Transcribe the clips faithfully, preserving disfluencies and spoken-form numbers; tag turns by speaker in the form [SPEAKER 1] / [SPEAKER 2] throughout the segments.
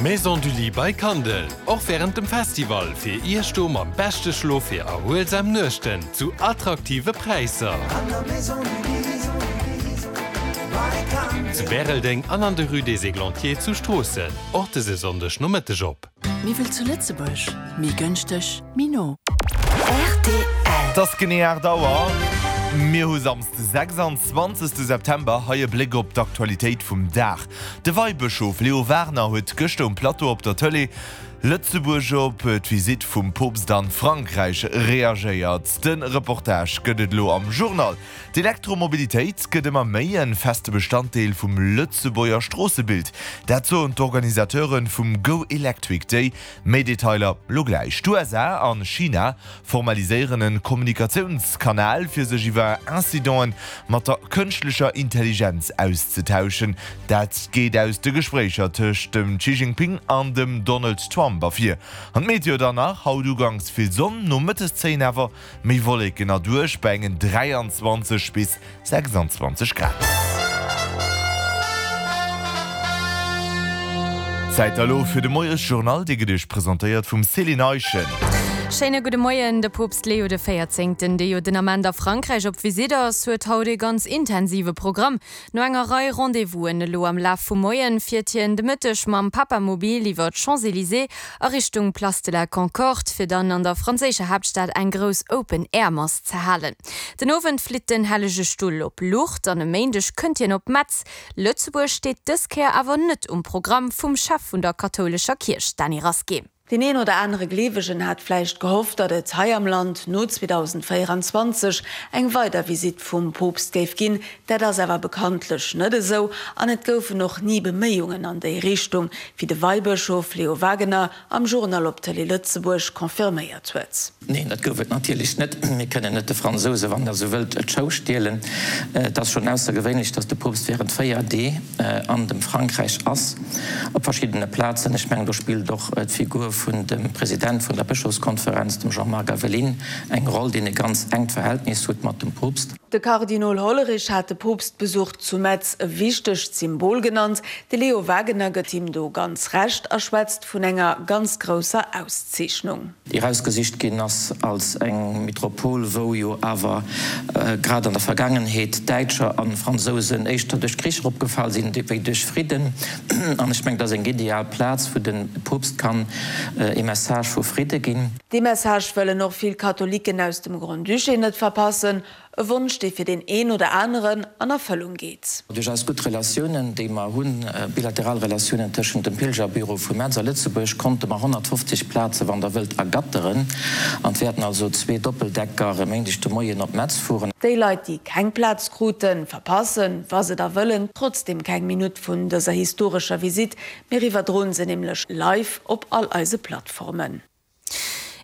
[SPEAKER 1] D'Maison du Lit by Kandel, och wärend dem Festival fir Iech do mam beschte Schlof fir erhuelsam Nuechten zu attraktive Präisser. Zu Bäreldeng an an der Rue des Églantiers zu Stroossen, och dëse Sonndeg Nomëtteg op.
[SPEAKER 2] Méi wéi zu Lëtzebuerg, méi gënschteg, méi no.
[SPEAKER 3] Rtl.
[SPEAKER 4] Et ass genee aacht Auer. Mir hu Samsde sechsanzwanzegste September. Hei e Bléck op d'Aktualitéit vum Dag. De Weibëschof Leo Wagener huet gëschter um Plateau op der Tëlee Lëtzebuerg op d'Visitt vum Poopst an Frankräich reagéiert. De Reportage gëtt et elo am Journal. D'Elektromobilitéit gëtt ëmmer méi e feste Bestanddeel vum Lëtzebuerger Stroossebild. Dat soen d'Organisateure vum Go Electric Day. Méi Detailer lo gläich. D'USA an China formaliséieren e Kommunikatiounskanal, fir sech iwwer Incidenten mat der kënschtlecher Intelligenz auszetauschen. Dat geet aus de Gespréicher tëscht dem Xi Jinping an dem Donald Trump ervir. An d'Meteo dann nach, Haut uganks vill Sonn, nomëttes zéien awer méi Wolleken erduerch bei engen dräianzwanzeg bis sechsanzwanzeg Grad. Zäit elo fir de Moiesjournal, dee gëtt Iech presentéiert vum Céline Eischen.
[SPEAKER 5] Schéine gudde Moien. De Poopst Leo de Véierzéngten, dee jo den Ament a Frankräich op Visitt ass, huet haut ee ganz intensive Programm. No enger Rei Rendez-vousen elo am Laf vum Moien, fiert hien de Mëtteg mam Papamobil iwwer d'Champs-Élysées a Richtung Place de la Concorde, fir dann an der franséischer Haaptstad eng grouss Open-Air-Mass ze halen. Den Owend flitt den Hellege Stull op Lourdes an e Méindeg kënnt hien op Metz. Lëtzebuerg steet dës Kéier awer net um Programm vum Chef vun der kathoulescher Kierch, Dany Rasqué.
[SPEAKER 6] Deen een oder anere Gleewegen hat vläicht gehofft, datt et hei am Land no zweedausendvéierenzwanzeg eng weider Visitt vum Poopst géif ginn. Dat ass awer bekanntlech net esou an et goufen och ni Beméiungen an déi Richtung, wéi de Weibëschof Leo Wagener am Journal op Tëlee Lëtzebuerg confirméiert huet.
[SPEAKER 7] Neen, dat gouf et natierlech net. Mir kënnen net de Fransouse, wann Der esou wëllt, d'Show stielen. Et ass schonn aussergewéinlech, datt de Poopst wärend véier Dee an dem Frankräich ass, op verschiddene Plazen. Ech mengen, do spillt och d'Figur vun dem President vun der Bëschofskonferenz, dem Jean-Marc Aveline, eng Roll, deen e ganz enkt Verhältnis huet mat dem Poopst.
[SPEAKER 6] De Kardinol Hollerich hat de Poopstbesuch zu Metz e wichtegt Symbol genannt. De Leo Wagener gëtt him do ganz Recht a schwätzt vun enger ganz grousser Auszeechnung.
[SPEAKER 7] Déi erausgesicht ginn ass als eng Metropol, wou jo awer grad an der Vergaangenheet Däitscher a Fransousen éischter duerch Krich eropgefall sinn wéi duerch Fridden. An ech mengen, dat ass eng ideal Plaz, wou de Poopst kann ee Message vu Fridde ginn.
[SPEAKER 6] Dee Message wëllen och vill Katholiken aus dem Grand-Duché net verpassen. E Wonsch, dee fir deen een oder aneren an Erfëllung geet.
[SPEAKER 7] Duerch eis gutt Relatiounen, déi mer hunn, bilateral Relatiounen tëschent dem Pilgerbüro vu Metz a Lëtzebuerg, konnte mer honnertfofzeg Plaze, wann Der wëllt, ergatteren. An et wäerten also zwee Doppeldecker e Méindeg de Moien op Metz fueren.
[SPEAKER 6] Déi Leit, déi keng Plaz kruten, verpassen, wa se da wëllen, trotzdeem keng Minutt vun dëser historescher Visitt. Mir iwwerdroen se nämlech live op all eise Plattformen.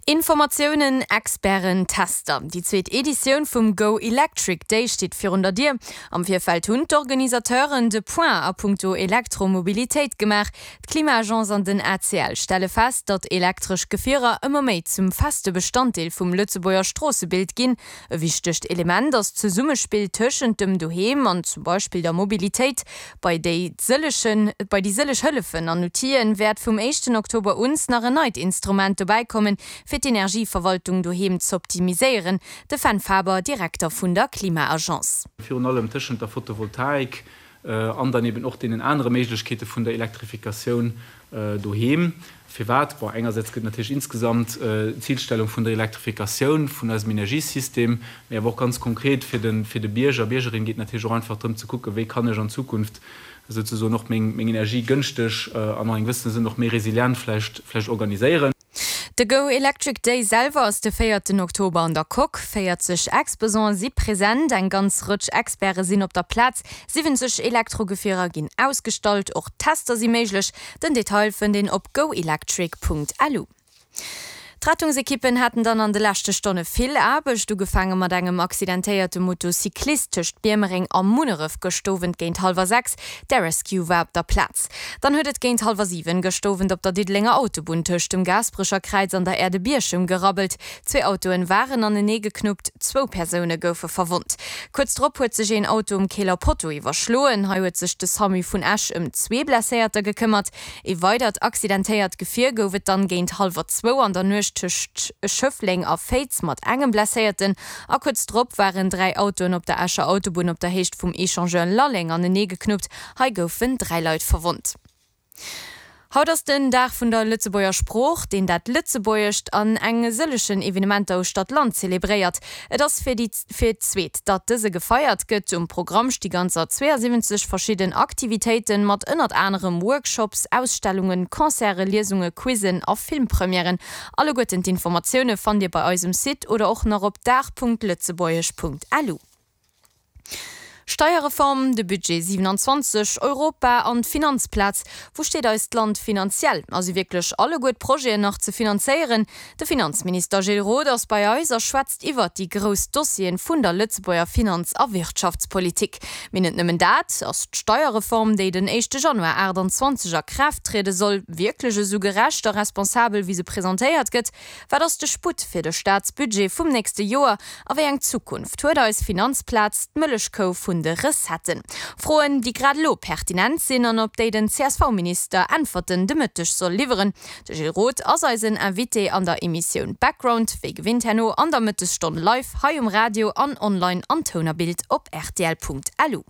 [SPEAKER 5] Informatiounen, Experten, Tester, Déi zweet Editioun vum Go Electric Day steet virun der Dier. Am Virfeld hunn d'Organisateuren de Point a punkto Elektromobilitéit gemaach. D'Klima-Agence an den A C L stelle fest, datt elektresch Gefierer ëmmer méi zum feste Bestanddeel vum Lëtzebuerger Stroossebild ginn. E wichtegt Element ass d'Zesummespill tëschent dem Doheem an zum Beispill der Mobilitéit. Bei déi sëllechen, bei déi sëlleg Hëllefen an Outile wäert vum éischten Oktober uns nach en neit Instrument dobäi kommen, fir d'Energieverwaltung doheem z'optimiséieren. De Fenn Faber, Direkter vun der Klima-Agence.
[SPEAKER 8] Virun allem tëschent der Photovoltaik an dann eben och deenen anere Méiglechkeete vun der Elektrifikatioun doheem. Firwat? Bon, engersäits gëtt natierlech insgesamt d'Zilstellung vun der Elektrifikatioun vun eisem Energiesystem, mee awer och ganz konkret fir de, fir de Bierger, Biergerin geet natierlech och einfach drëm ze kucken, wéi kann ech an Zukunft souzesoen och meng, meng Energie gënschteg an an engem gewëssene Sënn och méi resilient vläicht, vläicht organiséieren.
[SPEAKER 5] De Go Electric Day selwer ass de véierten Oktober an der Coque. Véierzeg Exposante si present, eng ganz Rëtsch Experte sinn op der Plaz, siwwenzeg Elektrogefierer ginn ausgestallt, och Tester si méiglech. Den Detail fënnt een op goelectric Punkt lu. D'Rettungsekippen haten dann an de leschte Stonne vill Aarbecht, ugefaange mat engem accidentéierte Motocyclist tëscht Biermereng a Munneref gëscht Owend géint hallwer sechs. D'Air Rescue war op der Plaz. Dann huet et géint hallwer siwen gëscht Owend op der Diddelenger Autobunn tëscht dem Gaasperecher Kräiz an der Aire de Bierchem gerabbelt. Zwee Autoen waren anenee geknuppt, zwou Persoune goufe verwonnt. Kuerz drop huet sech een Auto um Keeler Potto iwwerschloen. Hei huet sech de Samu vun Esch ëm zwee Blesséierter gekëmmert. Ee weidert accidentéiert Gefier gouf et dann géint hallwer zwou an der Nuecht tëscht Schëffleng a Féiz mat engem Blesséierten a kuerz drop waren dräi Autoen op der Escher Autobunn op der Héicht vum Echangeur Lalleng anenee geknuppt. Hei goufen dräi Leit verwonnt. Haut ass den Dag vun der Lëtzebuerger Sprooch, deen dat Lëtzebuergescht an eng sëllegen Evenementer uechter d'Land zelebréiert. Et ass fir déi fir d'zweet, datt dëse gefeiert gëtt. Um Programm sti ganzer zweeasiwwenzeg verschidden Aktivitéiten, mat ënnert anerem Workshops, Ausstellungen, Concerte, Liesunge, Quizzen a Filmpremièren. Alleguerten d'Informatioune fannt Dir bei eis um Site oder och nach op dag.lëtzebuergesch.lu. Steierreform, de Budget siewenanzwanzeg, Europa an d'Finanzplaz, Wou steet eist Land finanziell? A si wierklech alleguer d'Projeten nach ze finanzéieren? De Finanzminister Gilles Roth ass bei eis a schwätzt iwwert déi grouss Dossieren vun der Lëtzebuerger Finanz a Wirtschaftspolitik. Mee net nëmmen dat, Ass d'Steierreform, déi den éischte Januar aachtanzwanzeg a Kraaft triede soll, wierklech esou gerecht a responsabel, wéi se presentéiert gëtt? Wat ass de Sputt fir de Staatsbudget vum nächste Joer a wéi eng Zukunft huet eis Finanzplaz, d'Mëllechkou vun de Recetten? Froen, déi grad elo pertinent sinn an op déi den C S V-Minister Äntwerten de Mëtteg soll liwweren. De Gilles Roth ass eisen Invité an der Emissioun Background, wéi gewinnt herno an der Mëttesstonn live hei um Radio an online an Toun a Bild op rtl.lu.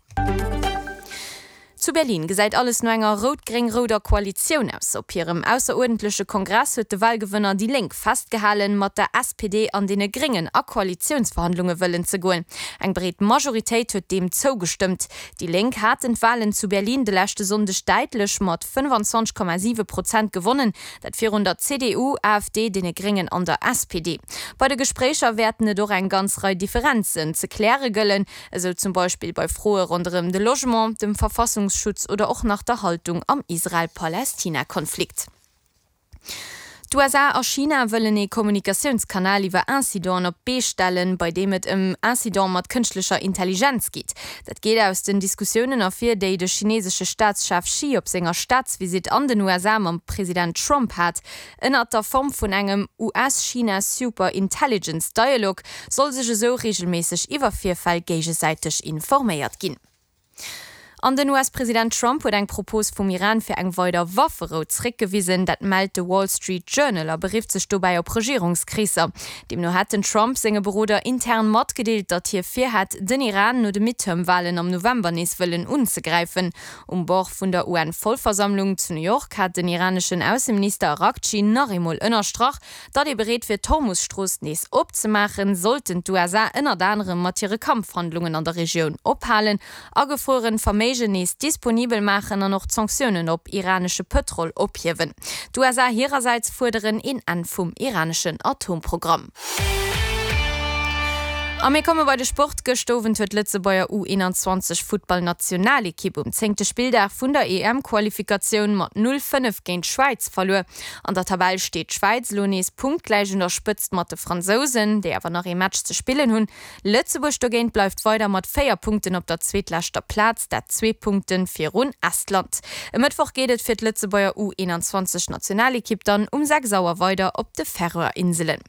[SPEAKER 5] Zu Berlin gesäit alles no enger rout-gréng-rouder Koalitioun aus. Op hirem ausseruerdentleche Kongress huet de Walgewënner déi Lénk festgehalen, mat der S P D an deene Gréngen a Koalitiounsverhandlunge wëllen ze goen. Eng breet Majoritéit huet deem zougestëmmt. Déi Lénk haten d'Walen zu Berlin de leschte Sonndeg däitlech mat fënnfanzwanzeg Komma siwe Prozent gewonnen, dat virun der C D U, A F D, deene Gréngen an der S P D. Bei de Gespréicher wäerten et och eng ganz Rei Differenzen ze kläre gëllen, esou zum Beispill bei Froe ronderëm de Logement, dem Verfassungsschutz oder och nach der Haltung am Israel-Palästina-Konflikt. D'U S A a China wëllen ee Kommunikatiounskanal iwwer Incidenten op d'Bee stellen, bei deem et ëm Incidente mat kënschtlecher Intelligenz geet. Dat geet aus den Diskussiounen ervir, déi de chinesesche Staatschef Xi op senger Staatsvisitt an den U S A mam President Trump hat. Ënnert der Form vun engem U S-China Super Intelligence Dialogue soll sech esou reegelméisseg iwwer Virfäll géigesäiteg informéiert ginn. An den U S-President Trump huet eng Propos vum Iran fir eng weider Wafferou zréckgewisen, dat mellt de Wall Street Journal a berifft sech dobäi op Regierungskreesser. Deemno hätt den Trump senge Beroder intern matgedeelt, datt hie virhätt, den Iran no de Midterm-Walen am November nees wëllen unzegräifen. Um Bord vun der U N-Vollversammlung zu New York hat den iraneschen Ausseminister Araghchi nach eemol ënnerstrach, datt ee bereet wier d'Hormus-Strooss nees opzemaachen, sollten d'U S A ënnert anerem mat hire Kampfhandlungen an der Regioun ophalen, agefrueren Verméigen nees disponibel maachen an och d'Sanktiounen op iranesche Pëtrol ophiewen. D'U S A hirersäits fuerderen een Enn vum iraneschen Atomprogramm. A mir komme bei de Sport. Gëscht Owend huet d'Lëtzebuerger U eenanzwanzeg Futtballnationalekipp um zéngte Spilldag vun der E M-Qualifikatioun mat null, fënnef géint d'Schwäiz verluer. An der Tabell steet d'Schwäiz elo nees punktgläich un der Spëtzt mat de Fransousen, déi awer nach ee Match ze spillen hunn. Lëtzebuerg dogéint bleift weider mat véier Punkten op der zweetleschter Plaz, dat zwee Punkte virun Estland. E Mëttwoch geet et fir d'Lëtzebuerger U eenanzwanzeg Nationalekipp dann um sechs Auer weider op de Färöer Inselen.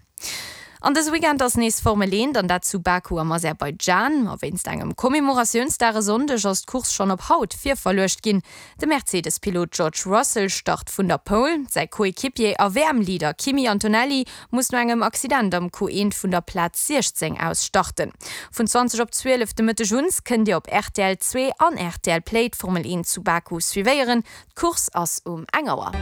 [SPEAKER 5] An dëse Weekend ass nees Formel eent, an dat zu Baku am Aserbaidschan. Ma wéinst engem Commemoratiounsdag e Sonndeg ass d'Course schonn op haut virverluecht ginn. De Mercedes-Pilot George Russell start vun der Pole. Säi Coequipier a W M-Leader Kimi Antonelli muss no engem Accident am Q eent vun der Plaz siechzéng aus starten. Vun zwanzeg op zwielef de Mëtteg un kënnt Dir op R T L zwee an R T L Play d'Formel eent zu Baku suivéieren. D'Course ass um eng Auer.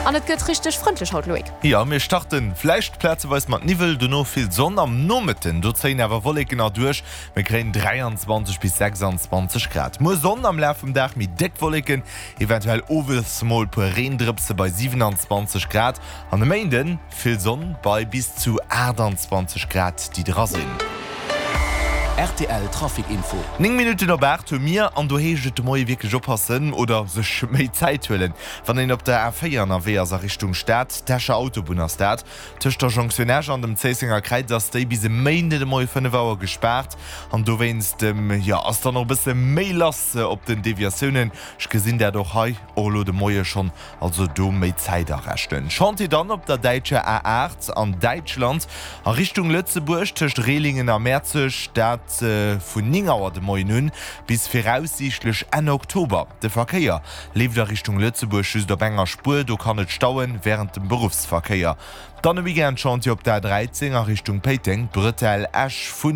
[SPEAKER 5] An et gëtt richteg frëndlech haut, Loïc.
[SPEAKER 4] Jo, mir starten vläicht plazeweis mat Niwwel, dono vill Sonn. Am Nomëtten do zéien awer Wolleken erduerch. Mir kréien dräianzwanzeg bis sechsanzwanzeg Grad. Muer Sonn am Laf vum Dag, méi déck Wolleken, eventuell owes mol puer Reendrëpse bei siewenanzwanzeg Grad. An e Méinden vill Sonn bei bis zu aachtanzwanzeg Grad, déi dra sinn.
[SPEAKER 3] Rtl Trafic Info.
[SPEAKER 4] Néng Minutten op aacht hu mir, an do heescht et de Moie wierklech oppassen oder sech méi Zäit huelen, wann een op der A véier ënnerwee ass a Richtung Stad. D'Escher Autobunn ass dat. Tëscht der Jonktioun Esch an dem Zéissenger Kräiz ass déi bis e Méinden de Moie fënnef Auer gespaart an dowéinst, jo, ass dann och e bësse méi lass op den Deviatiounen. Ech gesinn dat och hei och elo de Moie schonn, also do méi Zäit arechnen. Chantier dann op der däitscher A aacht an Däitschland a Richtung Lëtzebuerg tëscht Rehlingen a Mäerzeg, dat vun néng Auer de Moien un bis viraussiichtlech Enn Oktober. De Verkéier leeft a Richtung Lëtzebuerg just op enger Spuer, do kann et stauen wärend dem Beruffsverkéier. Dann e Weekend-Chantier op der A dräizéng a Richtung Péiteng, Bretelle Esch vun.